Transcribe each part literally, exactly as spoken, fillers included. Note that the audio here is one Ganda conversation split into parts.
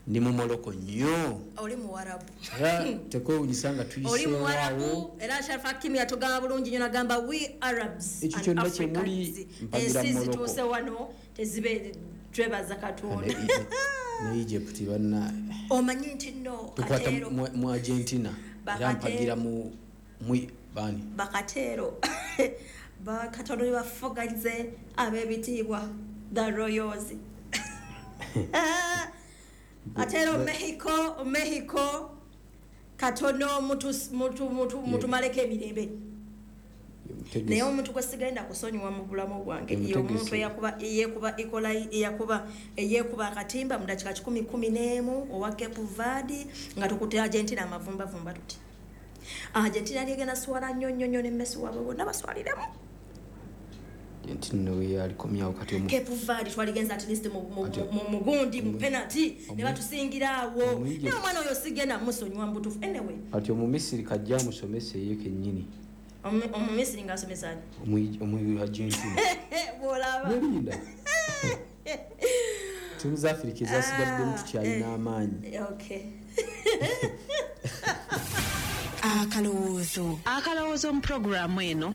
Ndi mu Morocco nnyo. Oli muwarabu. Era tekwewunyisa nga Oli tuyiseewaawo. muwarabu, era Sharif Hakimi yatugamba bulungi nnyo nagamba we Arabs Ekyo and kyonna kye muli Africans. mpagira Ensi Morocco. zituuse wano tezibe twebaza Katonda. Ne- ne Egypt banna. Omanyi nti nno Tukwata Kateero. mu mu Argentina. Era Bakateero. mpagira mu mu bani. Bakateero. Bakatono bafuganyize ab'ebitiibwa the Royals. Atero Mexico, Mexico katono mutu mutu mutu mutumaleko emirembe. Naye omuntu gwe sigenda kusonyiwa mu bulamu bwange ye omuntu eyakuba eyeekuba Ecola eyakuba eyeekuba akatimba mu dakiika kikumi kumi n'emu owa Cape Verde nga tukutte Argentina amavumbavumba tuti. Argentina yali egenda swala nnyo nnyo nnyo ne Messi waabwe bonna baswaliremu. Argentina we alikomyawo kati omu Cape Verde twaligenza at least mu mu Ati- mu mugundi mu penalty Omu- ne batusingira awo. Omu- Naye omwana oyo sigenda musonyiwa mu butuufu. Anyway. Kati Omumisiri kajja amusomese ye kennyini. Omu- Omumisiri ng'asomesa ani? Omu- omu Argentina. Bw'olaba. Mulinda. Ttiimu za Afirika ezasigaddemu Ah, tukyalina eh. amaanyi. Okay. Akalowoozo. Akalowoozo mu pulogulaamu eno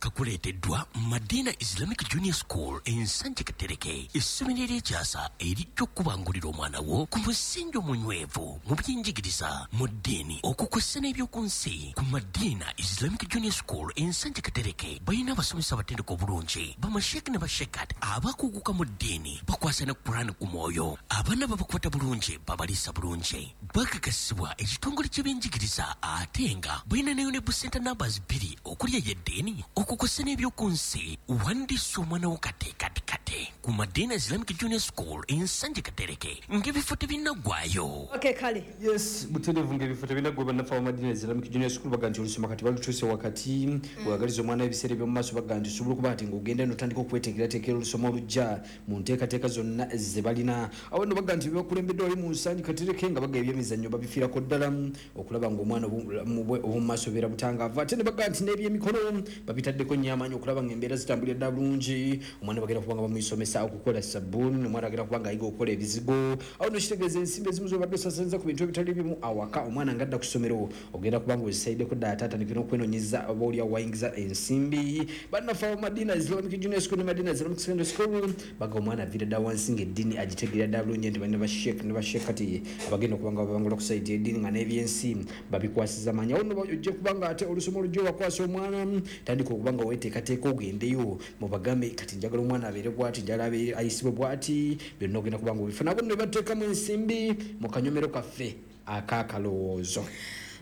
kakuleeteddwa Madina Islamic Junior School Ensanje Katereke, essomero ery'ekyasa erijja okubangulira omwana wo ku musingi omunywevu mu byenjigiriza, mu ddiini, okukwessa n'ebyoku nsi. Ku Madina Islamic Junior School Ensanje Katereke balina abasomesa abatendeka obulungi, bamasheeke ne bashekat abakuguka mu ddiini, bakwasa ne Quran ku mwoyo. Abaana babakwata bulungi, babaliisa bulungi, bakakasibwa ekitongole ky'ebyenjigiriza, ate nga balina ne UNEB Center numbers bbiri okuli ey'eddiini, okukwessa n'ebyoku nsi. Wandiisa omwana wo kate kate kate ku Madina Islamic Junior School Ensanje Katereke ng'ebifo tebinnaggwayo. Okay, kale. Yes, butereevu ng'ebifo tebinaggwa. Bannaffe aba Madina Islamic Junior School baga nti olusoma kati balutuuse wakati. Wagaliza omwana ebiseera eby'omu maaso, baga nti osobola okuba nti ng'ogenda n'otandika okweteekerateekera olusoma olujja mu nteekateeka zonna ze balina. Awo nno baga nti bebakulembedde wali mu Nsangi Katereke nga baga ebyemizannyo babifiirako ddala okulaba ng'omwana obulamu bwe obw'omu maaso bubeera butangaavu, ate ne baga nti n'ebyemikono babitaddeko nnyo amaanyi okulaba ng'embeera zitambulira ddala bulungi. Omwana bagenda kuba nga bamuyisomesa okukola sabbuuni, omwana agenda kuba ng'ayiga okukola ebizigo. Awo nno kitegeeza ensimbi ezimu z'obadde osasanza ku bintu ebitali bimu awaka, omwana ng'adda ku ssomero ogenda kuba nga ozisayiddeko ddala, ate atandike n'okwenoonyeza oba oli awo wayingiza ensimbi. Bannaffe abo Madina Islamic Junior School ne Madina Islamic Secondary School baga omwana aviira ddala wansi ng'eddiini agitegeera ddala bulungi, nti balina basheek ne basheek kati abagenda okuba nga babangula ku sayidi y'eddiini nga n'ebyensi babikwasiza maanyi. Awo nno ojja kuba nga ate olusoma olujja obakwasa omwana, tandika okuba nga weeteekateeka ogendeyo mubagambe kati njagala omwana abeere bw'ati, njagala abeere ayisibwe bw'ati, byonna ogenda kuba nga obifuna. Abo nno bateekamu ensimbi mu kanyomero kaffe ak'akalowoozo.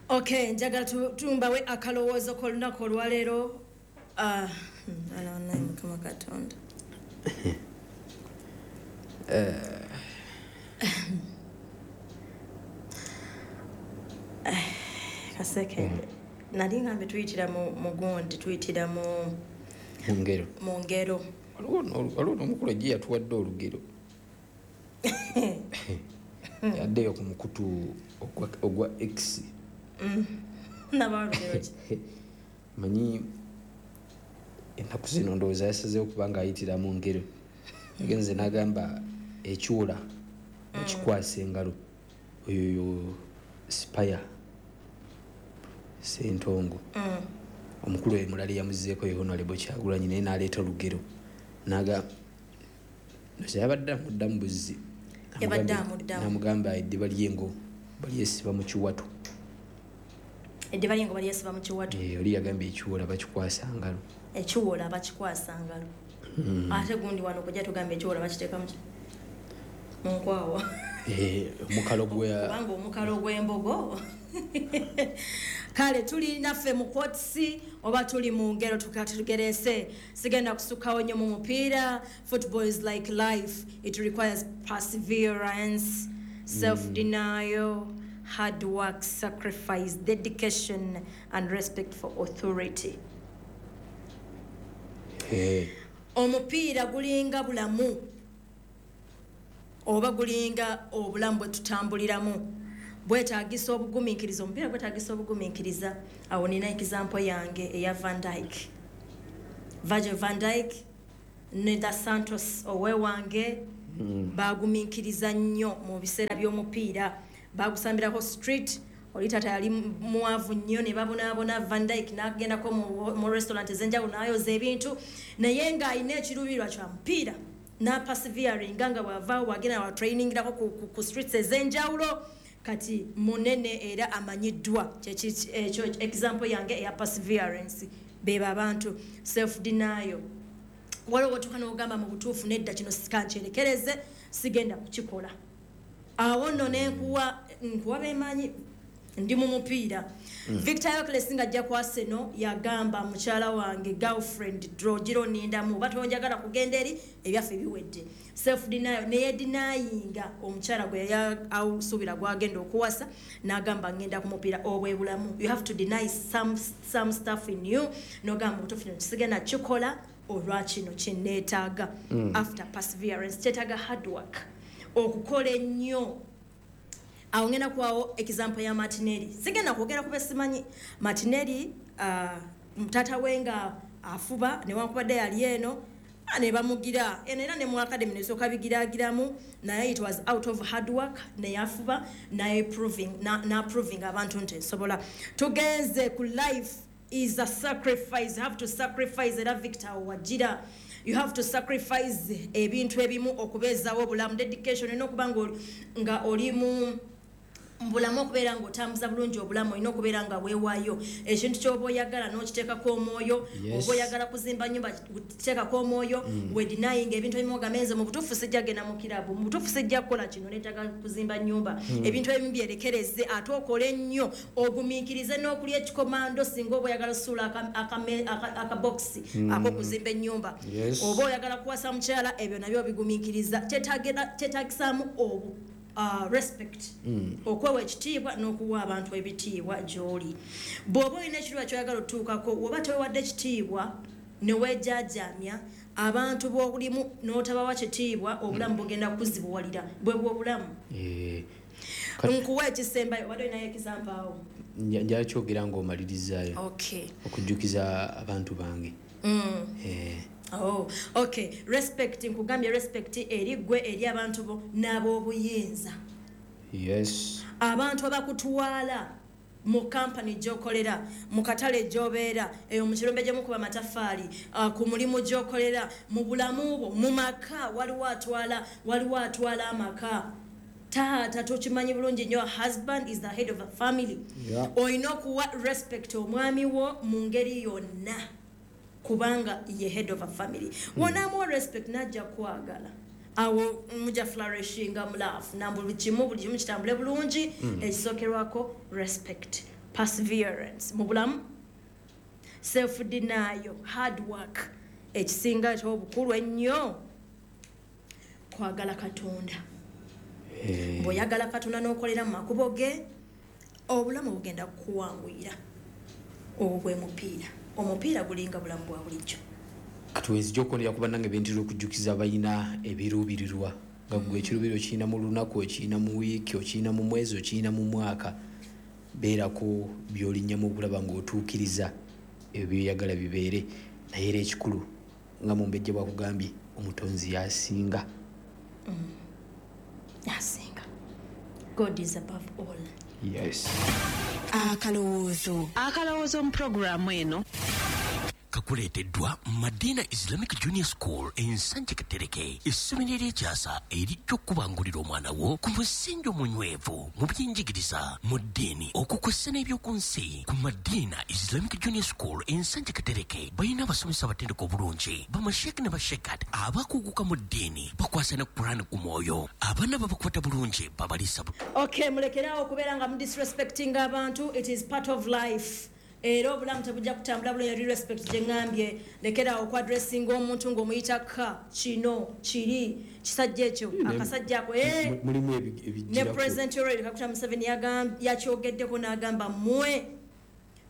Okay, njagala tu- tumbawe akalowoozo k'olunaku olwaleero. Ah, hmm, ala wallahi Mukama Katonda. Eh, kasekende. Nali ngambe tuyitira mu mu gundi, tuyitira mu mu ngero. Mu ngero. Waliwo n'olu- waliwo n'omukulu ejje yatuwadde olugero, yaddeyo ku mukutu ogwa, ogwa X. Naba olugero ki? Manyi ennaku zino ndowooza yasazeewo kuba ng'ayitira mu ngero. Agenze n'agamba ekyula ekikwasa engalo, oyo yo Spire Sentongo. Omukulu oyo mulala yamuzzeeko ye Honorable Kyagulanyi, naye n'aleeta olugero n'agamba ndowooza yabadde amuddamu buzzi. Yabadde N'amugamba- amuddamu. N'amugamba eddiba ly'engo balyesiba mu kiwato. Eddiba ly'engo balyesiba mu kiwato. Eh, oli yagambye ekiwola bakikwasa ngalo. Ekiwola bakikwasa ngalo. Ate gundi wano kujja tugamba ekiwola bakiteeka mu ki? Mu nkwawa. Eh, omukalo gwe Kubanga omukalo gw'embogo. Kale tuli naffe mu quotes oba tuli mu ngero tukatugerese. Sigenda kusukkawo nnyo mu mupiira. Football is like life. It requires perseverance, self-denial, hard work, sacrifice, dedication and respect for authority. Eh, Omupiira gulinga bulamu oba gulinga obulamu bwe tutambuliramu, bwetaagisa obugumiikiriza. Omupiira gwetaagisa obugumiikiriza. Awo nina example yange eya Van Dijk, Virgil van Dijk ne da Santos owewange. mm. Bagumiikiriza nnyo mu biseera by'omupiira, bagusambirako street. Oli taata yali mwavu nnyo ne babonaabona. Van Dijk n'agendako mu, mu restaurant ez'enjawulo n'ayoza ebintu, naye ng'alina ekiruubirirwa kya mupiira n'aperseveringa nga bw'avaawo bw'agenda watrainingirako ku, ku, ku streets ez'enjawulo. Kati munene era amanyiddwa. Kyeki ekyo example yange eya perseverance. Beba abantu self denial. Waliwo wotuuka n'ogamba mu butuufu, nedda, kino sikankyerekereze, sigenda kukikola. Awo nno nenkuwa nkuwa bemanyi ndi mu mupiira. Viktor Gyökeres nga ajja ku Arsenal yagamba, "Mukyala wange, girlfriend, drogira onindamu, oba tonjagala kugenda eri, ebyaffe biwedde." Self denial, neyedenyinga omukyala gwe yali asuubira gwagenda okuwasa, n'agamba, "Ngenda ku mupiira." Obwe bulamu, you have to deny some, some stuff in you, n'ogamba, "Butuufu kino kisigenda kikola olwa kino kyeneetaaga." mm. After perseverance kyetaaga hard work, okukola ennyo. Awo ngenda kuwawo example ya Martinelli. Sigenda kwogera kuba simanyi Martinelli. uh, taata we nga afuba, newankubadde yali eno, ah, ne bamugira eno era ne mu academy nesooka bigiragiramu, naye it was out of hard work, neyafuba naye proving na, na proving abantu nti nsobola. Tugenze ku life is a sacrifice. You have to sacrifice. Era Victor wagira, you have to sacrifice ebintu ebimu okubeezaawo obulamu. Dedication, olina okuba nga oli- nga oli mu bulamu, okubeera ng'otambuza bulungi obulamu, olina okubeera nga weewaayo ekintu ky'oba oyagala n'okiteekako omwoyo. Yes. Oba oyagala kuzimba nyumba, kuteekako omwoyo mm. Wedenying ebintu ebimu, ogambe, "Nze mu butuufu sijja genda mu kirabu, mu butuufu sijja kukola kino, neetaaga kuzimba nyumba mm. Ebintu ebimu byerekereze, ate okole nnyo, ogumiikirize n'okulya ekikomando singa oba oyagala osuula akabokisi mm. ak'okuzimba ennyumba. Yes. Oba oyagala kuwasa mukyala, ebyo nabyo obigumiikiriza. Kyetaagera- kyetaagisaamu obu uh, respect, mm. okwewa ekitiibwa n'okuwa abantu ebitiibwa gy'oli. Bw'oba olina ekitiibwa kyoyagala otuukako, oba tewewadde ekitiibwa neweejajamya abantu b'olimu n'otabawa kitiibwa, obulamu bugenda kuzibuwalira. Bwe bwobulamu. Eh, kati Nkuwa ekisembayo, wadde olinayo example awo? nja- njala kyogera ng'omalirizaayo Okay. okujjukiza abantu bange. mm. Eh, Oh, okay. Respect, nkugambye respect eri gwe, eri abantu bo n'ab'obuyinza. Yes abantu abakutwala mu kampani gyokolera, mu katale gyobeera, eyo mu kirombe gyemukuba amatafaali, uh, ku mulimu gyokolera, mu bulamu bwo, mu maka, waliwo atwala waliwo atwala amaka. Taata, tokimanyi bulungi nnyo, husband is the head of a family. Yeah. Olina okuwa respect omwami wo mu ngeri yonna, kubanga ye head of a family. Wonaamuwa respect, najja kwagala, awo mujja flourishinga mu love na buli kimu, buli kimu kitambule bulungi. Ekisookerwako respect, perseverance mu bulamu, self denial, hard work. Ekisinga kyobukulu ennyo, kwagala Katonda. Eh, Bw'oyagala Katonda n'okolera mu makubo ge, obulamu bugenda kukuwanguyira. Obwo bwe mupiira. Omupiira gulinga bulamu bwa bulijjo. Kati wenzija okwongera ku bannange bentera okujjukiza balina ebiruubirirwa, nga gwe ekiruubiriro okirina mu lunaku, okirina mu wiiki, okirina mu mwezi, okirina mu mwaka, beerako by'olinnyamu okulaba ng'otuukiriza ebyo byoyagala bibeere. Naye era ekikulu, nga Mumbejja bwakugambye, Omutonzi yasinga. Yasinga. God is above all. Yes. Akalowoozo, akalowoozo mu pulogulaamu eno kakuleeteddwa Madina Islamic Junior School Ensanje Katereke, essomero ery'ekyasa erijja okukubangulira omwana wo ku musingi omunywevu mu byenjigiriza, mu ddiini, okukwessa n'ebyoku nsi. Ku Madina Islamic Junior School Ensanje Katereke balina abasomesa abatendeka obulungi, bamasheeke ne bashekat abakuguka mu ddiini, bakwasa ne Kurani ku mwoyo. Abaana babakwata bulungi, babaliisa bu Okay, mulekeraawo okubeera nga mudisrespecting abantu. It is part of life, era obulamu tebujja kutambula bulungi. Eri respect gye ŋŋambye, lekeraawo okwadressinga omuntu ng'omuyita ka kino kiri kisajja ekyo, akasajja ako, eh. Mu- mulimu ebi- Ne ebijjirako. President Yoweri Kaguta Museveni yagam- yakyogeddeko n'agamba, "Mmwe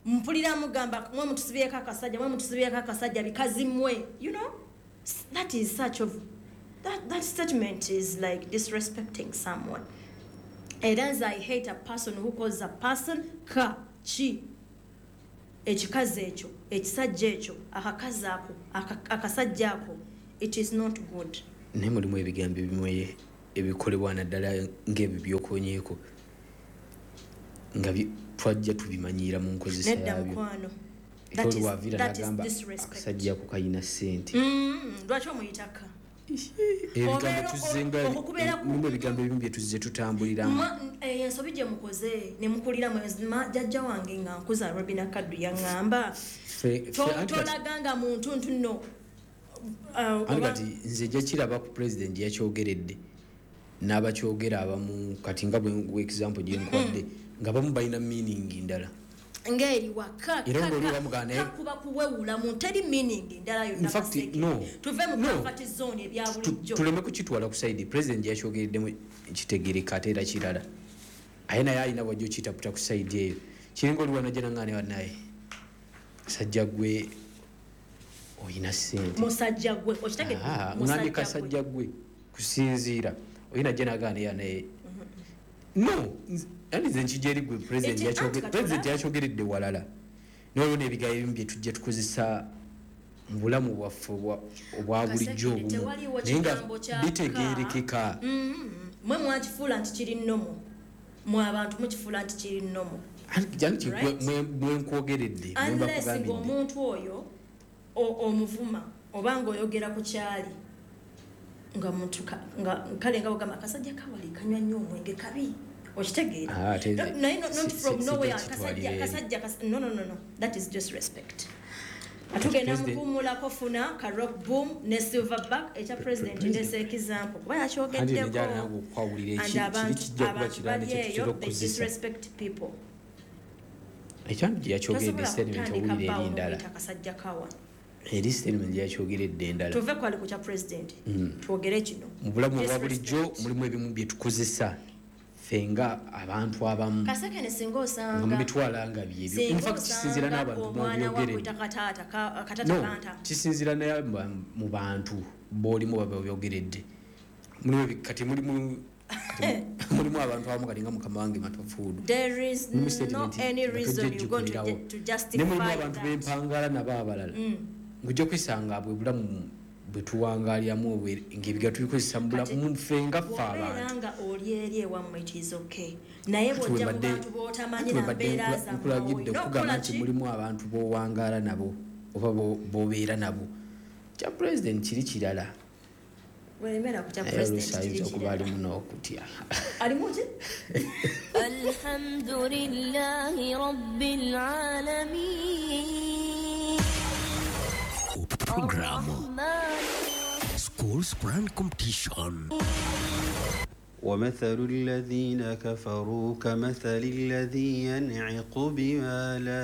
mpulira mugamba mwe mutusibyeko akasajja, mwe mutusibyeko akasajja, bikazi mmwe." You know, S- that is such of that, that statement is like disrespecting someone. Era nze I hate a person who calls a person ka ki, ekikazi ekyo, ekisajja ekyo, akakazi ako, aka- akasajja ako. It is not good. Naye mulimu ebigambo ebimwe ebikolebwa naddala ng'ebyo by'okonyeeko nga twajja tubimanyiira mu nkozesa yabyo. That is disrespect. Akasajja ako kayina ssente. Lwaki omuyitaka? Ebigambo tuzzenga mulimu ebigambo ebimu bye tuzze tutambuliramu. Ensobi gye mukoze ne mukuliramu jjajja wange nga nkuza Robina Kaddu yaŋŋamba tolaganga muntu nti nno. Anti kati nze nja kiraba ku pulezidenti yakyogeredde n'abakyogera abamu kati nga bwe example gye nkuwadde nga bamu balina meaning ndala. Ngeri waka kakuba kuwewula mu teri meaning ndala yonna kaseke. Tuve mu comfort zone ebya bulijjo. Tuleme kukitwala ku side president yakyogereddemu kitegereka ate era kirala. Aye naye alina bw'ajja okitaputa ku side eyo. Kiringa oli wanajja nangaane wannaye. Sajja gwe oyina ssente. Musajja gwe okitegedde. Musajja kasajja gwe kusinziira oyina ajja nagaane yanaye. No, ani nze nkijja gwe president yakyogeredde president yakyogeredde walala. N'olwo n'ebigambo ebimu bye tujja tukozesa mu bulamu bwaffe obwa bulijjo obumu naye nga bitegeerekeka. Mwe mwakifuula nti kiri nnomo. Mwe abantu mukifuula nti kiri nnomo. Anti mwe nkwogeredde mwe mbakugambidde. Omuntu oyo omuvuma oba ng'oyogera ku kyali nga muntu nga kale nga ogamba akasajja kawali kanywa nnyo omwenge kabi. Okitegeera? Naye not from nowhere akasajja akasajja no no no no that is just respect. Atugenda mukuumulako funa ka rock boom ne silverback ekya president ndese example kuba yakyogeddeko disrespect people. Ekyantu gye yakyogeredde statement owulira eri ndala. Akasajja kawa eri statement yakyogeredde endala. Tuve kwali ku kya president twogere kino. Mu bulamu obwa bulijjo mulimu ebimu bye tukozesa ffe nga abantu abamu. Kasekene singa osanga nga mubitwala nga byebyo. In fact kisinziira n'abantu b'obyogeredde. Kisinziira naye mu bantu b'olimu baba byogeredde. Mulimu kati mulimu mulimu abantu abamu kati nga mukama wange Matofuudu. There is no any reason you going to, to justify that. Ne mulimu abantu b'empangala nabo abalala. Ng'ojja kwisanga bwe bulamu bwe tuwangaaliramu ng'ebigambo tubikozesa mu bulamu ffe nga ffe abantu. Nga oli eri ewammwe it is okay. Naye bw'ojja mu bantu b'otamanyi na mbeera zammwe. Nkulagidde okugamba nti mulimu abantu b'owangaala nabo oba b'obeera nabo. Kya president kiri kirala. Welemera ku kya president kiri kirala. Alimu n'okutya. Alimu ki? Alhamdulillahi rabbil alamin. Program Schools Quran Competition. ومثل الذين كفروا كمثل الذي ينعق بما لا